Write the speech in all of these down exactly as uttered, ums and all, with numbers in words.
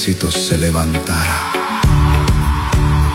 Ejército se levantara.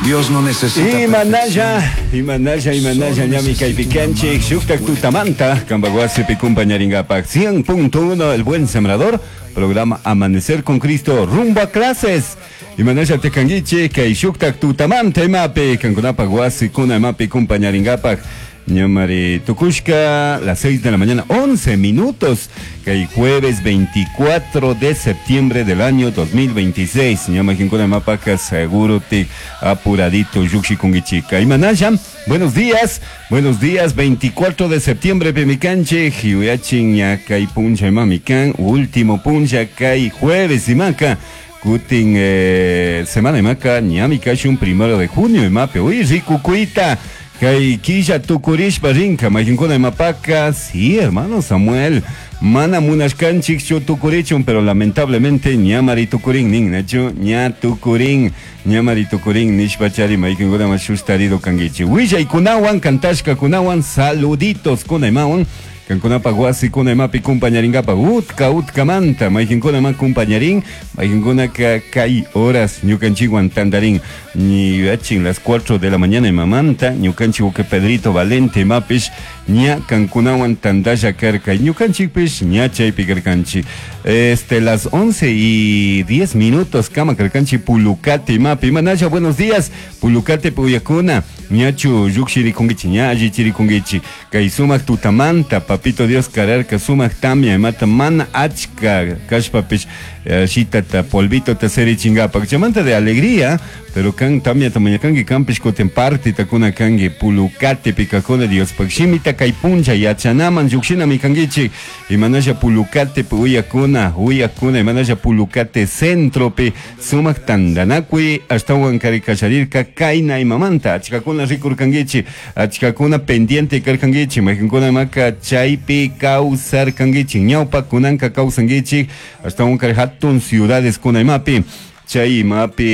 Dios no necesita Imanalla, imanalla, imanalla, ñami kaypi kanchik, shuktak tutamanta, kampak wasipi kumpañarinkapak, cien punto uno, El Buen Sembrador, programa Amanecer con Cristo, rumbo a clases. Imanalla tikanguichik, kay shuktak tutamanta imapi, kankunapak wasikuna imapi kumpañarinkapak. Ñamari tukushka, las seis de la mañana, once minutos, kay jueves veinticuatro de septiembre del año dos mil veintiséis. Ña mayqinkuna mapaka seguro te apuradito llukshikunguichika. Imanalla, buenos días, buenos días, veinticuatro de septiembre, pimi kanchik, yuyachin ña kay puncha imami kan, último puncha kay jueves imaka. Kutin eh, semana imaka, ñami kashun primero de junio imapi, uy, rikukuita. Kay killa tukurishpa rinka, mayqinkuna imapaka, sí, hermano Samuel, mana munashkanchikchu tukurichun, pero lamentablemente ñamari tukurin nin, nachu, ña tukurin, ñamari tukurin nishpachari mayqinkuna ma shustarido kanguichik. Willaykunawan, kantashkakunawan, saluditos kuna imawan, kankunapak wasikuna imapi kumpañarinkapak utka utkamanta mayqinkuna ma kumpañarin, mayqinkunaka kay horas ñukanchikwan tantarin yachin las cuatro de la mañana imamanta ñukanchik uke Pedrito Valente imapish ña kankunawan tantalla karka ñukanchikpish ña chaypi karkanchik. Este, las once y diez minutos kama karkanchik Pulucate imapi. Imanalla, buenos días, Pulucate puyakuna, ñachu llukshirikunkichik, ña allichirikunkichik? Kay sumak tutamanta papito Dios kararka sumak tamia imata mana achka kashpapish eh, shitata polvito ta serichinkapak chaymanta de alegría, pero kan tamia mañakanki kanpish kutin parte takuna kanki Pulucate pikakuna Diospak shimita kay puncha yachanaman llukshinami kankichik. Imanalla, Pulucate uyakuna, uyakuna, imanalla Pulucate centropi sumak tantanakuy ashtawan kari kasharirka kayna imamanta achkakuna rikurkankichik, achkakuna pendiente karkankichik, mayqinkuna maka chaypi kawsarkankichik ñawpa, kunanka kawsankichik ashtawan kari hatun ciudades kuna imapi chay imapi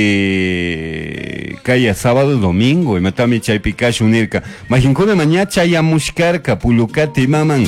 kaya sábado, domingo imatami chaypi kashun nirka. Mayqinkuna ma ña chayamushkarka Pulucate imaman,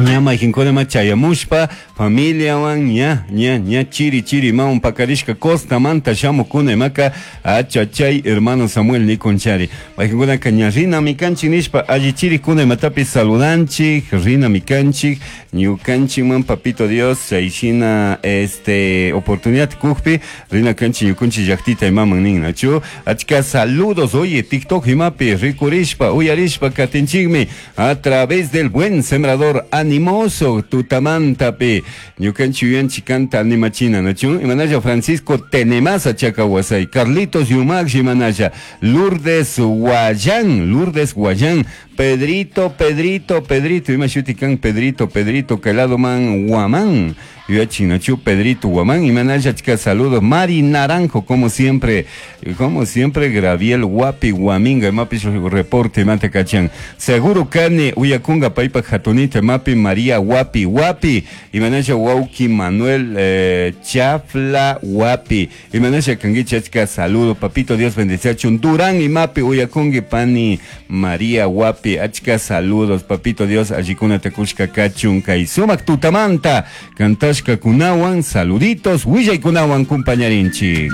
ña mayqinkuna ma chayamushpa familiawan ña ña ña chiri chiri imawan pakarishka costamanta shamukuna imaka achachay hermano Samuel nikunchari. Mayqinkunaka ña rinami kanchik nishpa allichirikuna imatapi saludanchik, rinami kanchik ñukanchikman papito Dios chayshina este oportunidad kukpi rina kanchik ñukunchik llaktita imaman nin, nachu? Achka saludos. Oye, TikTok imapi rikurishpa uyarishpa katinchikmi a través del Buen Sembrador animoso tutamantapi ñukanchik yuyanchik kanta animachina, nachu? Imanalla, Francisco Tenemasa Chacawasay, Carlitos Yumax, imanalla, Lourdes Guayán, Lourdes Guayán, Pedrito, Pedrito, Pedrito, ima shuti kan Pedrito, Pedrito, man Guamán, yuyachin, nachu? Pedrito Guamán, imanalla, achka saludos, Mari Naranjo, como siempre, como siempre, Graviel Guapi Guaminga, imapi reporte mate kachan, seguro kani uyakunga paypa hatunita imapi María Guapi Guapi, imanalla Wauki Manuel eh, Chafla Guapi, imanalla kanguichi, achka saludo, papito Dios bendeciachun. Durán imapi uyakungi pani María Guapi, achka saludos, papito Dios allikuna takushka kachun kay sumak tutamanta kantashka kunawan, saluditos, willaykunawan kumpañarinchik.